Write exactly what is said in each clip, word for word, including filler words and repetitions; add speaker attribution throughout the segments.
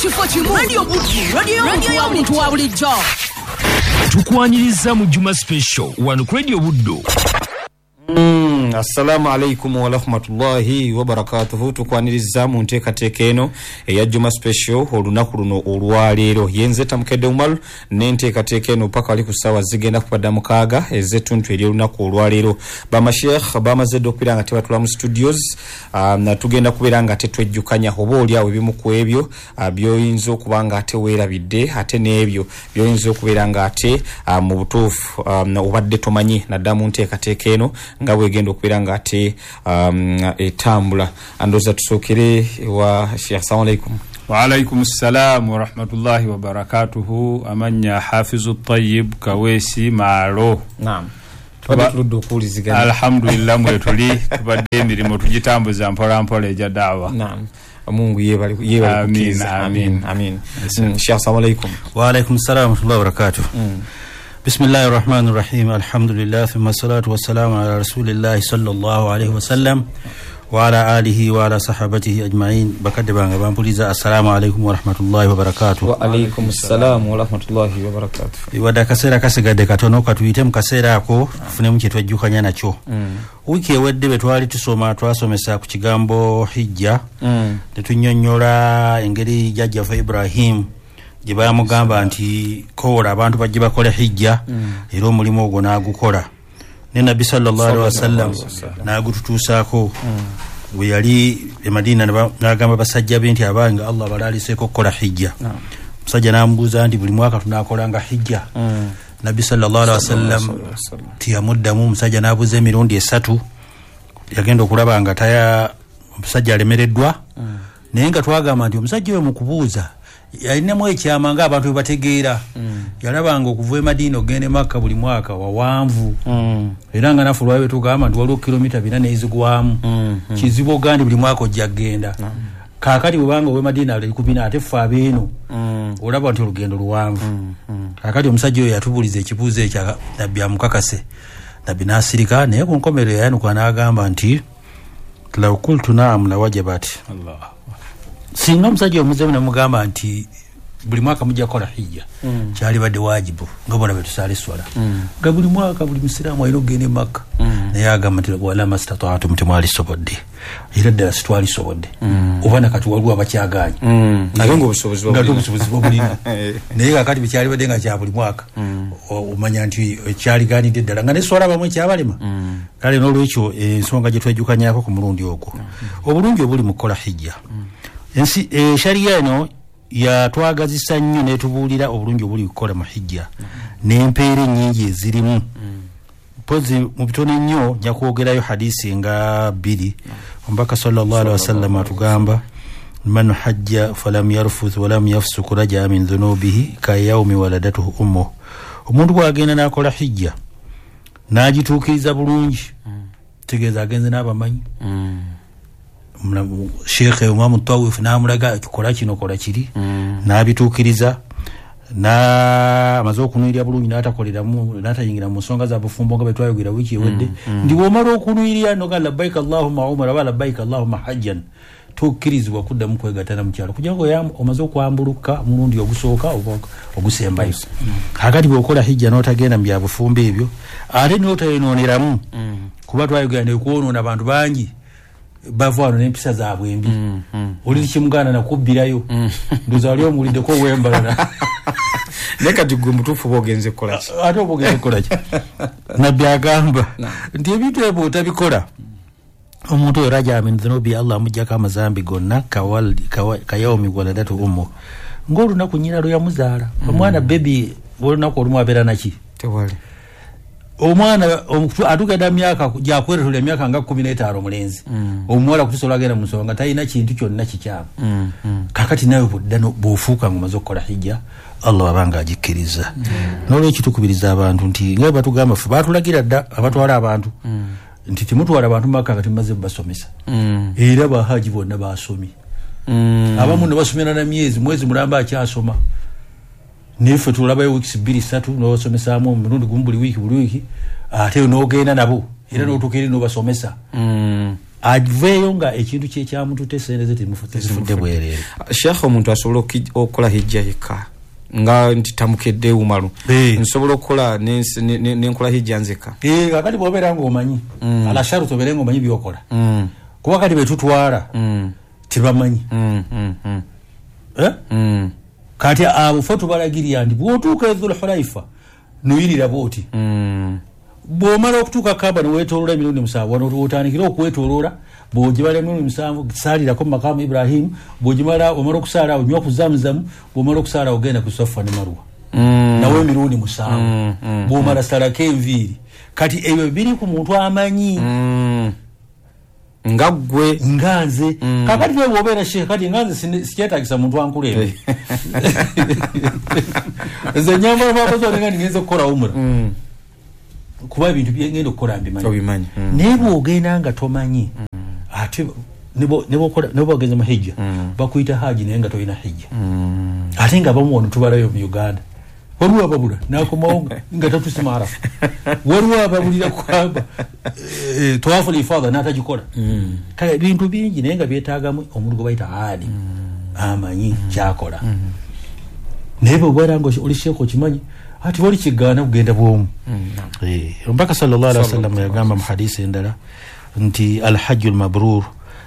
Speaker 1: Kifo kimu, Radio Buddu, radio y'omuntu wa bulijjo.
Speaker 2: Tukwaniriza mu Juma Special wano ku Radio Buddu.
Speaker 3: Mm, assalamu alaikum wa rahmatullahi wa barakatuhu. Tukwaniriza mu nteekateeka eno eya Juma Special olunaku luno olwaleero. Yenze Tamukedde Umar n'enteekateeka eno paka wali ku ssaawa zigenda kubadda mukaaga ez'ettuntu ery'olunaku olwaleero. Bamasheikh bamaze dda okubeera nga tebatula mu studios, um, tugenda kubeera nga tetwejjukanya oba oli awo ebimu ku ebyo uh, by'oyinza okuba nga ate weerabidde, ate n'ebyo by'oyinza okubeera nga ate uh, mu butuufu um, obadde tomanyi naddala mu nteekateeka eno nga bwegenda okubeera nga ate um, etambula. Andooza tusookere wa Sheikh. Assalamu alaikum.
Speaker 4: Wa alaikum assalam wa rahmatullahi wa barakatuhu. Amanya Hafizu Tayyib Kaweesi Maalo.
Speaker 3: Naam, tubadde tuludde okuwuliziganya.
Speaker 4: Alhamdulillah, mwetuli tubadde emirimu tugitambuza mpola mpola egya daawa.
Speaker 3: Naam, Mungu yebale yebale kukkiriza.
Speaker 4: Amin,
Speaker 3: amin. Sheikh, assalamu alaikum.
Speaker 5: Wa alaikum assalam wa rahmatullahi wa barakatuh.
Speaker 3: Mm.
Speaker 5: Bismillahi rahmani rahim. Alhamdulillah, thumma salatu wassalamu ala rasulillahi sallallahu alaihi wasallam wa ala alihi wa ala sahabatihi ajma'in. Bakadde bange bampuliza, assalamu alaikum wa rahmatullahi wa barakatuh.
Speaker 3: Wa alaikum assalam wa rahmatullahi wa barakatuh.
Speaker 5: Wadde akaseera kasigadde katono, katuyite mu kaseera ako tufunemu kye twejjukanya nakyo.
Speaker 3: Mm.
Speaker 5: Wiiki ewedde bwe twali tusoma twasomesa ku kigambo hijja,
Speaker 3: Mm.
Speaker 5: ne tunnyonnyola engeri jjajjaffe Ibrahim gye baamugamba nti kowola abantu bajje bakole hijja,
Speaker 3: Mm.
Speaker 5: era omulimu ogwo n'agukola. Ne Nabbi sallallahu alaihi wasallam n'agututuusaako.
Speaker 3: Mm.
Speaker 5: Bwe yali e Madina n'agamba basajja be nti abange Allah abalaaliseeko okukola hijja.
Speaker 3: Naam.
Speaker 5: Omusajja n'amubuuza nti buli mwaka tunaakolanga hijja?
Speaker 3: Mm.
Speaker 5: Nabbi sallallahu alaihi wasallam tiyamuddamu. Omusajja n'abuuza emirundi esatu, yagenda okulaba nga taya omusajja alemereddwa.
Speaker 3: Mm.
Speaker 5: Naye nga twagamba nti omusajja oyo mu kubuuza yalinamu ekyama ng'abantu bwe bategeera.
Speaker 3: Mm.
Speaker 5: Yalabanga okuva e Madiina ogenda e Makka buli mwaka wawanvu.
Speaker 3: Mm.
Speaker 5: Era nga naffe olwali tugamba nti waliwo kilomita bina n'ezigwamu.
Speaker 3: Mm. Mm.
Speaker 5: Kizibu ogandi buli mwaka ojja kugenda.
Speaker 3: Mm.
Speaker 5: Kaakati bwebanga ow'e Madiina ali ku bina ate ffe abeeno
Speaker 3: Mm.
Speaker 5: olaba nti olugendo luwanvu.
Speaker 3: Mm. Mm.
Speaker 5: Kaakati omusajja oyo yatubuuliza ekibuuzo ekyo Nabbi amukakase. Nabbi n'asirika, naye ku nkomerero yayanuka n'agamba nti law qultu na'am lawajabat.
Speaker 4: Allah.
Speaker 5: Singa omusajja omuzeemu namugamba nti buli mwaka mujja kukola hijja,
Speaker 3: Mm.
Speaker 5: kyalibadde waajibu nga bona bwe tusaala esswala,
Speaker 3: Mm.
Speaker 5: nga buli mwaka buli musiraamu alina okugenda e Makka.
Speaker 3: Mm.
Speaker 5: Naye agamba nti wala mastataatum, temwalisobodde, era ddala sitwalisobodde.
Speaker 3: Mm.
Speaker 5: Oba nakati waliwo abakyagaanye.
Speaker 3: Mm. Ate ng'obusobozi
Speaker 5: nga
Speaker 3: babulina.
Speaker 5: obusobozi babulina. Naye kaakati bwekyalibadde nga kya buli mwaka,
Speaker 3: Mm.
Speaker 5: omanya nti ekyaligaanidde ddala nga n'esswala abamu ekyabalema.
Speaker 3: Mm.
Speaker 5: Kale n'olwekyo ensonga gye twejjukanyako ku mulundi ogwo, obulungi obuli mu kukola hijja. Ensi shariya eno yatwagazisa nnyo n'etubuulira obulungi obuli kukola mu hijja n'empeera ennyingi ezirimu. Mpozi mu bitono ennyo nja kwogerayo hadisi nga bbiri. Omubaka sallallahu alaihi wasallam atugamba man hajja falam yarfuth walam yafsuk raja min dhunubihi ka yaumi waladatuhu ummuh. Omuntu bw'agenda n'akola hijja n'agituukiriza bulungi, tegeeza agenze n'abamanyi.
Speaker 3: Mm.
Speaker 5: Sheikh Imam Tawif n'amulaga kola kino kola kiri,
Speaker 3: Mm.
Speaker 5: n'abituukiriza, na amaze okunuyirira bulungi n'atakoleramu n'atayingira mu nsonga za bufumbo nga bwe twayogera wiiki ewedde.
Speaker 3: Mm.
Speaker 5: Ndi bw'omala okunuyirira noga labbaik Allahumma umra wa labbaik Allahumma hajjan, tokkirizibwa kuddamu kwegatta na mukyalo kugira ngo omaze okwambuluka omulundi ogusooka oba ogusembayo. Kaakati bw'okola hijja n'otagenda mu bya bufumbo ebyo ate n'otayonooneramu,
Speaker 3: Mm.
Speaker 5: kuba twayogera nekwonoona abantu bangi bava wano n'empisa zaabwe embi.
Speaker 3: Mm. Mm.
Speaker 5: Oli kimugaana nakubbirayo.
Speaker 3: Mm.
Speaker 5: Ndowooza wali omuwuliddeko ow'embalala.
Speaker 3: Naye kati gwe mutuufu oba ogenze kukola ki?
Speaker 5: Ate oba ogenze kukola ki? Nabbi agamba nti ebintu ebyo otabikola, omuntu oyo raja min dhunubi, Allah amuggyako amazambi gonna kayaumi waladatu ummu, ng'olunaku nnyina lwe yamuzaala. Omwana bebi olunaku olumu abeera naki?
Speaker 3: Tewali.
Speaker 5: Omwana atuuka myaka gyakweretula emyaka nga kkumi n'etaano omulenzi,
Speaker 3: Mm.
Speaker 5: omuwala kutuusa olwagenda mu nsonga nga talina kintu kyonna kikyamu.
Speaker 3: Mm. Mm.
Speaker 5: Kaakati nawe bw'odda bw'ofuuka ng'omaze okukola hijja, Allah abanga agikkiriza. N'olwekyo tukubiriza abantu nti nga bwe batugamba ffe baatulagira dda abatwala abantu
Speaker 3: Mm.
Speaker 5: nti temutwala abantu Makka nga temumaze basomesa.
Speaker 3: Mm.
Speaker 5: Era bahaji bonna baasomye.
Speaker 3: Mm.
Speaker 5: Abamu ne basomera na myezi, mwezi mulamba akyasoma. Naye ffe tulabayo wiiki bbiri ssatu n'obasomesaamu omulundi gumu buli wiiki buli wiiki, ate n'ogenda nabo era n'otuuka eri n'obasomesa.
Speaker 3: Mm.
Speaker 5: Aveeyo nga ekintu kyekyamutute sente ze tezifudde bwereere.
Speaker 3: Sheikh, omuntu asobola okukola hijja yekka nga nti tamukedde Umaru, nsobola okukola nenkola hijja nzekka?
Speaker 5: Kakati bwobeera ngaomanyi ala sharuti obeere nga omanyi byokola, kuba kati betutwala tebamanyi. Kati abo fe tubalagirira nti bwotuuka e Dhulhulaifa nuyirira bwoti, bwomala okutuuka Kaaba newetoloola emirundi musanvu, wano otandikire okwetoloola, bwogibala emirundi musanvu saalirako mu makamu Ibrahimu, bwogimala omala okusaala onywa ku Zamuzamu, bwomala okusaala ogenda ku Safa ne Marwa nawe emirundi musanvu, bwomala salako enviiri. Kati ebyo biri ku muntu amanyi
Speaker 3: nga ggwe
Speaker 5: nga nze. Kakati nawe bwobeera sheikh, kati nga nze sikyetagisa muntu ankulembe, nze nyambala bakozi nga ngenze okukola umura, kuba ebintu byengenda okukola mbimanyi. Naye bwogenda nga tomanyi, ate nebwogenze mu hijja bakuyita haji naye nga tolina hijja. Ate nga abamu wano tubalayo mu Uganda, waliwo ababula nakomawo nga tatusima Arafa, waliwo ababulira kwamba tawafu lifadha n'atagikola. Kale ebintu bingi naye nga byetaagamu omuntu gwe bayita alim amanyi kyakola. Naye bw'obeera nga oli sheikh okimanyi, ati wali kigaana kugenda bwomu. Omubaka sallallahu alaihi wasallam yagamba mu hadisi endala nti alhajju lmabrur,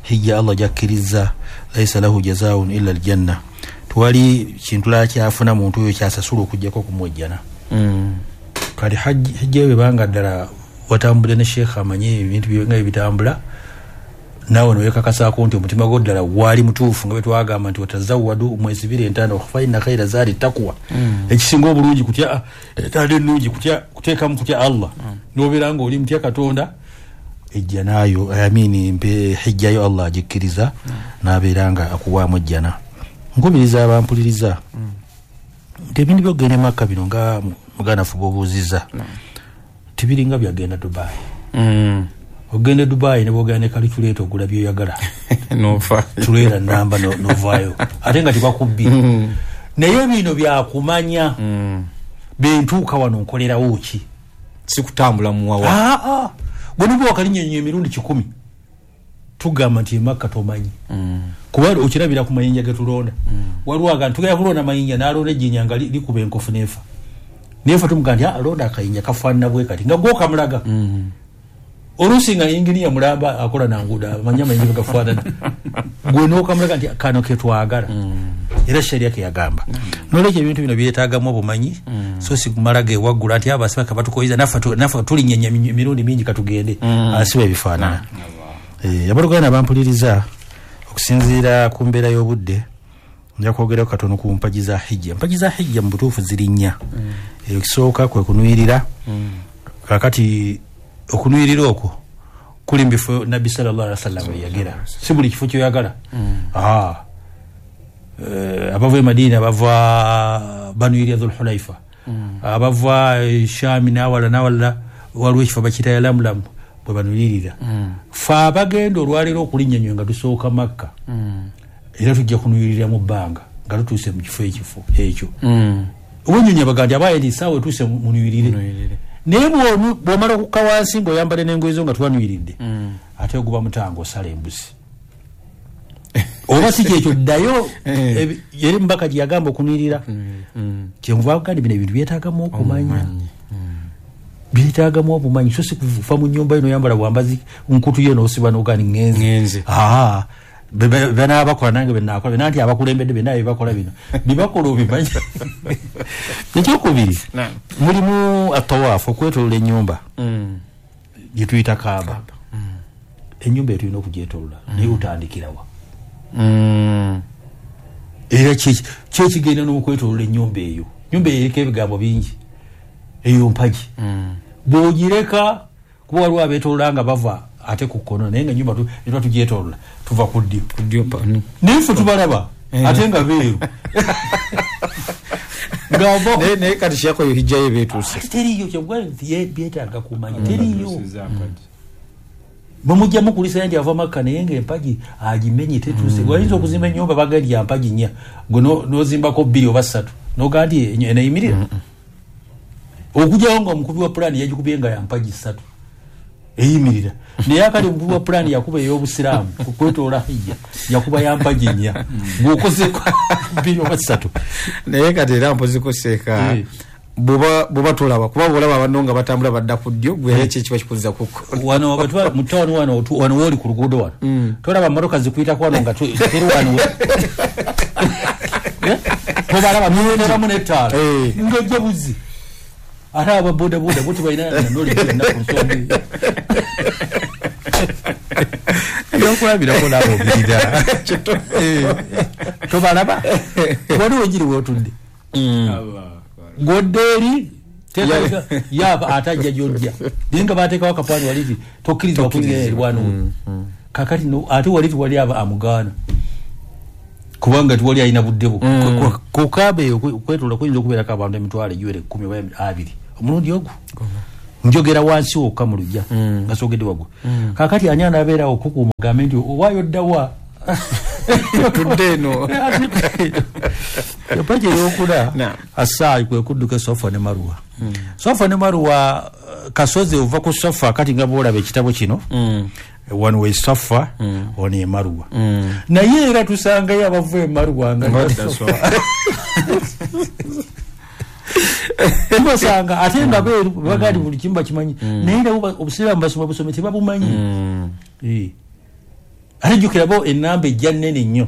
Speaker 5: hijja Allah gyakkiriza, laisa lahu jazaun illa aljanna, tewali kintu lala kyafuna muntu oyo kyasasula okugjako okumwejjana. Kati hijja eyo bwebanga ddala watambudde ne sheikh amanyi ebintu nga ebitambula, naawe newekakasaako nti omutima gwo ddala gwali mutuufu, nga bwe twagamba nti watazawadu, mwesibire entanda, faina khaira zaadi takuwa, ekisinga obulungi kutya entanda ennungi kuteekamu kutya Allah, nobeera nga oli mutya Katonda, ejja naayo amini mpe hijjayo Allah agikkiriza n'abeera nga akuwaamu ejjana. Nkubiriza abampuliriza nti ebintu byokugenda e Makka bino nga muganda ffe bw'obuuzizza tibiringa byagenda Dubai. Ogenda e Dubai ne bwogenda ne calculator ogula byoyagala tuleera namba novaayo ate nga tebakubbye. Naye bino byakumanya bentuuka wano nkolerawo ki,
Speaker 3: si kutambula muwawa.
Speaker 5: Gwe nibwe wakalinnya emirundi kikumi tugamba nti emakka tomanyi, kuba okirabira ku mayinja ge tulonda. Waliwo aga tugenda kulonda mayinja n'alonda ejjinja nga likuba enkofu neefa neefa, tumugamba nti alonda akayinja kafaanana bwe kati nga gwokamulaga. Oluusi nga inginiya mulamba akola nanguudo amanyi amayinja gafaanana, gwe n'okamulaga nti kano ke twagala. Era sharia ke yagamba. Nolwekyo ebintu bino byetaagamu obumanyi, so si kumala gewaggula nti abasibaka batukoyiza naffe tulinnyenya emirundi mingi katugende, asiba ebifaanana. Abooluganda bampuliriza, okusinziira ku mbeera y'obudde nja kwogerako katono ku mpagi za hijja. Empagi za hijja mu butuufu ziri nnya. Ekisooka kwe kunuyirira. Kakati okunuyirira okwo kuli mu bifo Nabbi sallallahu alaihi wasallam yagera, si buli kifo kyoyagala. Abava e Madina bava banuyirira Dhulhulaifa, abava Shami n'awalala n'awalala waliwo ekifo bakiyita Yalamulamu bwe banuyirira. Fe abagenda olwaleero okulinnya ennyonyi nga tusooka Makka, era tujja kunuyirira mu bbanga nga tutuuse mu kifo ekifo ekyo. Obunyonyi abaga nti abaye nti essaawa etuuse munuyirire, naye bw'omala okukka wansi ng'oyambadde n'engoye zo nga twanuyiridde, ate oguba mutango osala embuzi. Oba si kyekyo ddayo eri mubaka gye yagamba okunuyirira. Kyenva kandi bino ebintu byetaagamu okumanya, byetaagamu obumanyi, so si kufa mu nnyumba yo n'oyambala bwambazi nkutu yo n'osiba n'ogaa ni ŋŋenze. Banaabakola nange benakola bena nti abakulembedde bena byebakola bino byebakola obimanyi. Ekyokubiri mulimu atawaafu, okwetolola ennyumba gye tuyita Kaaba. Ennyumba eyo tulina okugyetolola, naye otandikirawa? Era kyekigenda n'okwetolola ennyumba eyo. Ennyumba eyo eriko ebigambo bingi, eyo mpagi bw'ogireka, kuba waliwo abeetolola nga bava ate ku kkono, naye nga ennyumba tuba tugyetolola tuva ku ddyo, naye ffe tubalaba ate nga beeru.
Speaker 3: Naye kati sheikh oyo hijjayo beetuuse
Speaker 5: teriiyo. Kyebwa byetaaga kumanya, teriiyo. Bwemujjamu kulisa nti ava Makka naye nga empagi agimenye tetuuse. Wayinza okuzimba ennyumba bagamba ya mpagi nnya, gwe n'ozimbako bbiri oba ssatu n'ogaa nti eneeyimirira, okugyawo nga omukubi wa pulaani yagikubye nga ya mpagi ssatu. Eyimirira. Naye akali omukubi wa pulaani yakuba ey'obusiraamu okwetoola hijja, yakuba yampagi nnya, ng'okozeeko bbiri oba ssatu.
Speaker 3: Naye kati era mpoziko seeka,
Speaker 5: Eh.
Speaker 3: bw'oba bw'oba tolaba, kuba bwolaba banno nga batambula badda ku ddyo, gwe era ki ekiba kikuzza ku kkono?
Speaker 5: Wano abatwa mu tawuni wano, otu- wano wooli ku luguudo wano, tolaba motoka zikuyitako wano nga tu- teri wano we- Eh? Tobalaba noteramu n'ettaala
Speaker 3: Eh.
Speaker 5: ng'ojja buzi. Ate aba bodaboda bo tebalina knowledge yonna ku nsonga eyo. Ebyokulabirako naawe obirira. Eh, tobalaba waliwo enjiri weotudde godde eri teeka- yaba ate ajja gyojja, naye nga bateekawo akapaani wali ti tokkirizibwa kuyingira erwano. Kakati no, ate wali tiwali aba amugaana, kubanga tiwali alina budde bwo. Ku- ku kaaba eyo kwe- kwetoola kuyinza okubeerako abantu emitwalo egiwera ekkumi oba abiri omulundi ogwo. Njogera wansi wokka mu lujja nga soogedde waggulu. Kakati ani anaabeerawo okukuuma ogambe nti owaayo ddawa?
Speaker 3: Tudde eno.
Speaker 5: Empagi eyokuna,
Speaker 3: Naam.
Speaker 5: asaayi, kwe kudduka Sofa ne Maruwa. Sofa ne Maruwa, eh, kasozi ova ku Sofa. Kati nga bwolaba ekitabo kino, wano we Sofa, ono e Maruwa. Naye era tusangayo abava e Maruwa nga Sofa tubasanga, ate nga beeru bagaa nti buli kimu bakimanyi, naye nabo ba- obusiraamu basoma busome, tebabumanyi. Eh. Ate jjukira bo enamba ejja nnene nnyo.